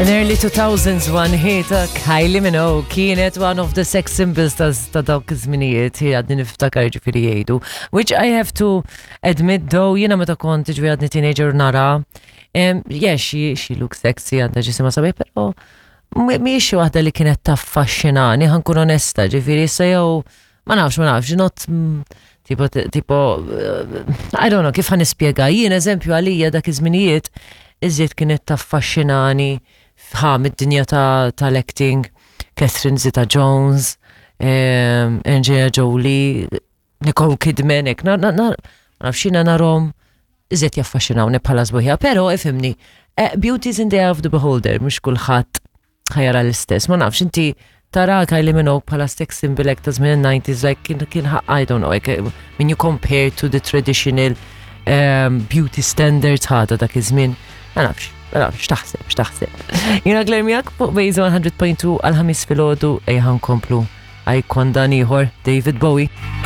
In early 2000s one hit uh, Kylie Minogue kienet one of the sex symbols ta' ta' dawk iż-żminijiet hi għadni niftakar ġifieri jgħidu. Which I have to admit though jiena meta kont ġifieri għadni teenager nara um, yeah, she, she looks sexy għandha ġisimha sabiħ, però mhijiex xi waħda li kienet taffaxxinani, ħankun onesta, ġifieri issa jew ma nafx, ma nafx, not mm, tipo, tipo, eh, I don't know, kif ħan nispjega, jien eżempju għalija dak iż-żminijiet iżjed kienet taffaxxinani ħa mid-dinja tal-acting, Catherine Zeta-Jones, ehm, Angelina Jolie, Nicole Kidman, ek, na, na, na, nafx jiena narhom iżjed jaffaxxinawni bħala sbuħija, però ifhimni, eh, beauty is in the eye of the beholder, mhux kulħadd ħajara l-istess. Ma nafx, inti tara Kylie Minogue bħala sex symbol like ta' żmien 90s, like kien kien I don't know, like eh, when you compare to the traditional um, beauty standards ħada dak iż-żmien, ma nafx, ma nafx, x'taħseb, x'taħseb. Jiena Claire miegħek fuq Bejza 100.2 għal ħamis filgħodu ejja nkomplu icon dan ieħor David Bowie.